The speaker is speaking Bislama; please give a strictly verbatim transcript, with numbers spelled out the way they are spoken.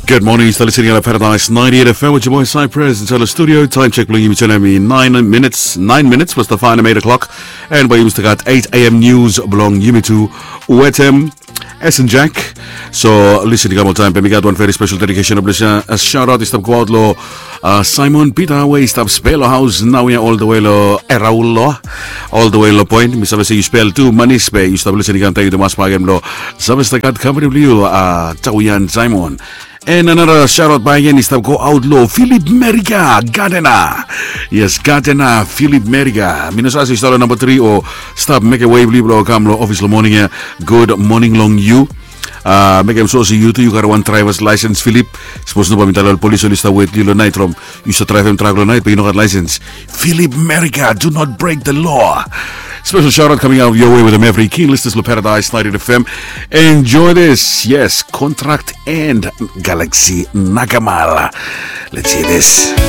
Good morning, yu stap listening long Paradise ninety-eight F M with your boy Cypress inside the studio. Time check blong yumi tu nao i nine minutes, nine minutes plus the five minute clock. And by yumi stap gat eight A M news blong yumi tu wetem S and Jack. So listen, i kam ol taim, but mi gat one very special dedication of blessing. A shout out i stap go out lo uh, Simon Peter, we i stap spare lo house nao ya all the way lo Eraulo, all the way lo Point. Mi save se yu spare tu manis be yu stap listening, kam taim yu tumas bagem lo Save stap gat company blong yu, uh, Tawian Simon. And another shout out by again i stap go out lo Philip Merika, Gardena. Yes, Gardena, Philip Merika. Mi no save se yu stap lo number three o stap mekem wei blong yu blong kam lo office lo moning ya. Good morning long yu. Uh, mekem so se yu tu yu gat wan driver's license, Philip. Sapos no, bae mi talem lo polis oli stap wet yu lo nait from yu stap draivem trak lo nait be yu no gat license. Philip Merika, do not break the law. Special shout out coming out your way with them every key listeners lo Paradise ninety-eight F M. Enjoy this. Yes, Contract and Galaxy Nakamala. Let's hear this.